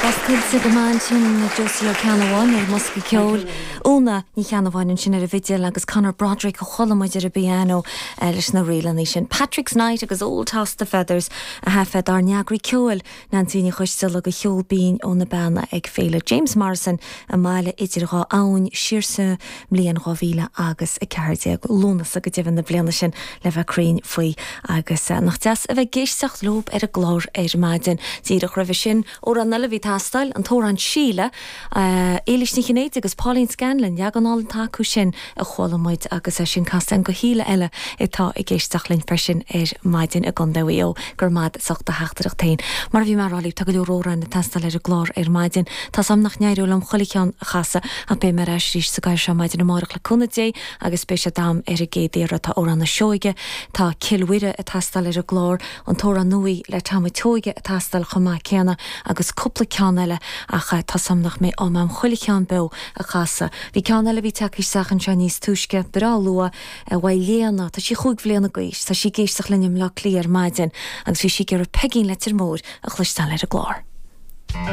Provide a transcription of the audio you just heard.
Bheas tuillte go maith ansin Josie Ó Ceannabháin ar an mbosca ceoil, Úna Ní Cheannabháin ansin ar an bhfidil agus Conor Broderick a chuala muid ar an bpianó leis na ríleanna sin. Patrick's Night agus Old Toss the Feathers a thaifead ár n-eagraí ceoil Neansaí Ní Choisdealbha do cheol binn ó na Beanna ag Féile James Morrison i mBaile Idir Dhá Abhainn siar sa mbliain 2000 agus 14, Lúnasa go deimhin na bliana sin le bheith cruinn faoi. Agus nach deas a bheith ag éisteacht leob ar an gclár ar maidin. Díreach roimhe sin, amhrán eile a bhí ag teastáil, an t-amhrán Síle, Éilís Ní Chinnéide agus Pauline Scanlon, leagan álainn atá acu sin a chuala muid agus é sin casta againn do Shíle eile atá ag éisteacht linn freisin ar maidin i gContae Mhaigh Eo. Go raibh maith agat as ucht do theachtaireacht féin. Mar a bhí mé a rá libh, tá go leor amhráin ag teastáil ar an gclár ar maidin. Tá's a'm nach n-éireoidh liom chuile cheann a chasadh ach beidh mé ar ais arís sa gcarr seo maidin amárach le cúnamh Dé agus beidh sé d'am ar an gcéad iarraidh. Tá Amhrán na Sióige, tá Cill Mhuire ag teastáil ar an gclár, an t-amhrán nua le Tom a' tSeoighe ag teastáil chomh maith céanna agus cúpla ceann eile ach tá's a'm nach mbeidh am a'm chuile cheann beo a chasadh. Bhí ceann eile a bhí tagtha isteach anseo níos túisce, breá luath, uaidh Léana, tá sí chúig bhliana d'aois, tá sí ag éisteacht linn i mBleá Cliath ar maidin agus bhí sí ag iarraidh Peigín Leitir Móir a chloisteáil ar an gclár.